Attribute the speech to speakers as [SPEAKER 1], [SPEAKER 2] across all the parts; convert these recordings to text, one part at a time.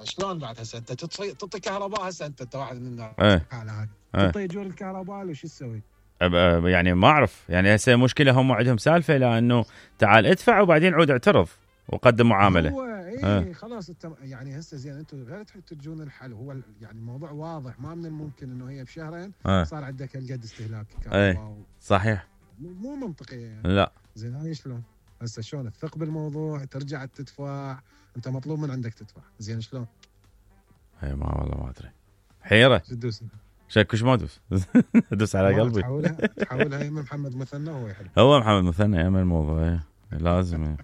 [SPEAKER 1] شلون بعد هسه انت تعطي كهرباء هسه انت واحد من الناس الحاله هاي تعطي اجور الكهرباء ولا شو تسوي؟
[SPEAKER 2] يعني ما اعرف يعني هسه مشكله هم عندهم سالفه لانه تعال ادفع وبعدين عود اعترض وقدم معامله.
[SPEAKER 1] هو خلاص انت يعني هسه زين انتم غير تجون الحل. هو يعني الموضوع واضح، ما من الممكن انه هي بشهرين صار عندك هالقد استهلاك كهرباء.
[SPEAKER 2] صحيح
[SPEAKER 1] مو منطقيه يعني.
[SPEAKER 2] لا
[SPEAKER 1] زين هاي شلون هسه شلون تثق بالموضوع ترجع تدفع؟ انت مطلوب من عندك تدفع. زين شلون؟
[SPEAKER 2] هي ما والله ما ادري حيره.
[SPEAKER 1] تدوس
[SPEAKER 2] شكوش ما ادوس ادوس على قلبي.
[SPEAKER 1] تحولها يم محمد مثنى هو يحل.
[SPEAKER 2] هو محمد مثنى يعمل الموضوع لازم.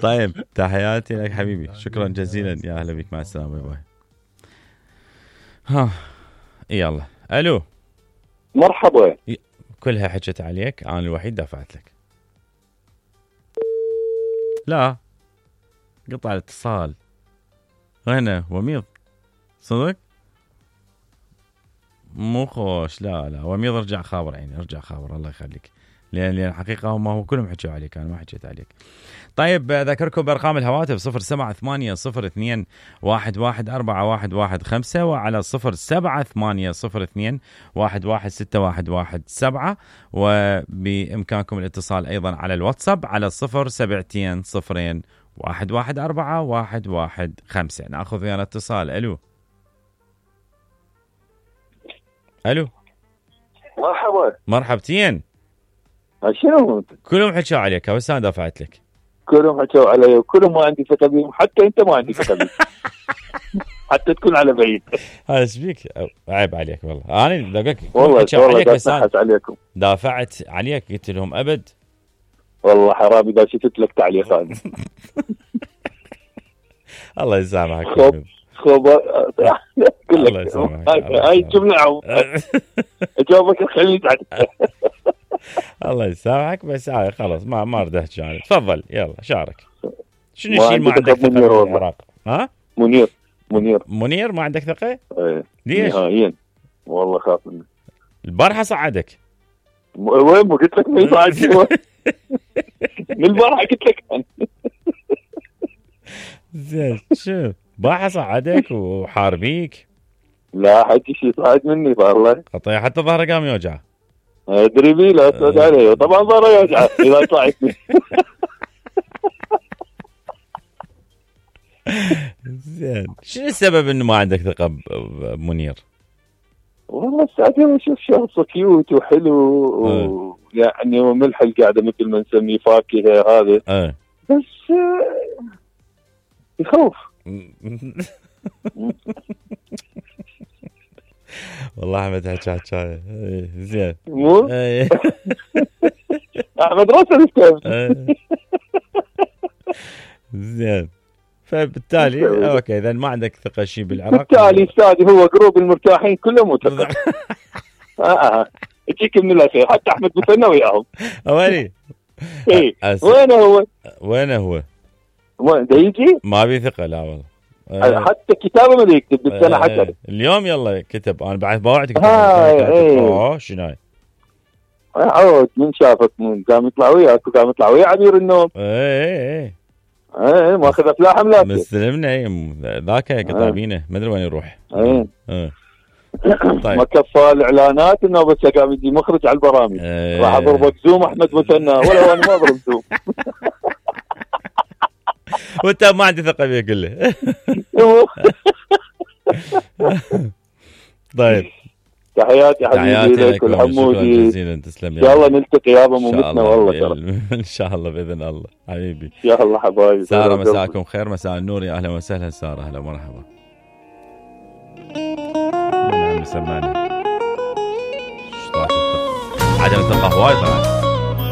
[SPEAKER 2] طيب تحياتي لك حبيبي، شكرا جزيلا، يا اهلا بك، مع السلامه، باي باي. ها يلا الو
[SPEAKER 3] مرحبا.
[SPEAKER 2] كلها حكت عليك، انا الوحيد دافعت لك. لا قطع الاتصال. هنا وميض صدق مو خوش. لا وميض ارجع خابر عيني، ارجع خابر الله يخليك، لان الحقيقه هم هو كلهم حكوا عليك، انا ما حكيت عليك. طيب اذكركم بارقام الهواتف 07802114115 وعلى 07802116117 وبامكانكم الاتصال ايضا على الواتساب على 07202114115. ناخذ ويانا اتصال. الو مرحبتين.
[SPEAKER 3] شنو
[SPEAKER 2] كلهم حكوا عليك بس انا دافعت لك.
[SPEAKER 3] كلهم حكوا علي وكلهم ما عندي ثقه بهم، حتى انت ما عندي ثقه بهم حتى تكون على بعيد.
[SPEAKER 2] هذا ايش بيك؟ عيب عليك والله. انا لقيت
[SPEAKER 3] والله
[SPEAKER 2] عليك بس
[SPEAKER 3] عليكم
[SPEAKER 2] دافعت عليك، قلت لهم ابد
[SPEAKER 3] والله حرام اذا شفت لك تعليقات.
[SPEAKER 2] الله يسامحك.
[SPEAKER 3] الله يسامحك. هاي الجمله اجاوبك الخليج.
[SPEAKER 2] الله يسامحك بس هاي خلاص ما اريد احكي عنك. تفضل يلا شارك. شنو الشيء ما عندك ثقه بالعراق؟ ها منير ما عندك ثقه؟
[SPEAKER 3] ايه
[SPEAKER 2] ليش؟
[SPEAKER 3] نهائيا والله خاف منه.
[SPEAKER 2] البارحه صعدك.
[SPEAKER 3] وين ما قلت لك ما يصعد. من البارحه قلت لك.
[SPEAKER 2] زين شوف بارحه صعدك وحاربيك.
[SPEAKER 3] لا حكي شيء صعد مني والله.
[SPEAKER 2] قطيع حتى ظهره قام يوجع.
[SPEAKER 3] ادري بي لا تسعد عليه طبعا ظهره يوجع اذا طلعت.
[SPEAKER 2] زين شنو السبب انه ما عندك ثقه بمنير؟
[SPEAKER 3] والله السعادة اشوف شخص كيوت وحلو ويعني وملح القعده مثل ما نسميه فاكهه هذا. بس يخوف.
[SPEAKER 2] والله احمد حكى زين
[SPEAKER 3] مو احمد راسل
[SPEAKER 2] زين. فبالتالي اوكي اذا ما عندك ثقه شيء بالعراق،
[SPEAKER 3] بالتالي استاذي هو جروب المرتاحين كلهم متفق. يجيك من الاخير حتى احمد مثنى وياهم.
[SPEAKER 2] اولي
[SPEAKER 3] اي وينه هو وين دا يجي؟
[SPEAKER 2] ما بي ثقه لا والله.
[SPEAKER 3] حتى كتابه ما يكتب بالسنه حتى
[SPEAKER 2] اليوم يلا كتب. انا بعد بوعدك شنو هاي
[SPEAKER 3] عود من شافك من قام يطلع وياك وقام يطلع ويا عبير النوم.
[SPEAKER 2] ايه
[SPEAKER 3] ماخذ افلام ملاك
[SPEAKER 2] مستلمنا ذاك كتابينه ما ادري وين يروح.
[SPEAKER 3] طيب ما كفى الاعلانات انه بس قام يجي مخرج على البرامج. راح اضربك زوم احمد مثنى ولا انا ما اضرب زوم.
[SPEAKER 2] وانت ما عندي ثقه فيه كله. طيب
[SPEAKER 3] تحياتي حبيبي لك والحمودي.
[SPEAKER 2] شكرا جزيلا تسلم.
[SPEAKER 3] ان شاء الله نلتقي يابا ممتنا والله
[SPEAKER 2] ان شاء الله باذن الله حبيبي.
[SPEAKER 3] ان شاء الله حبايبي.
[SPEAKER 2] ساره مساكم خير، مساء النور، يا اهلا وسهلا ساره. هلا مرحبا. نعم سمعني. عدم الثقه هواي طبعا.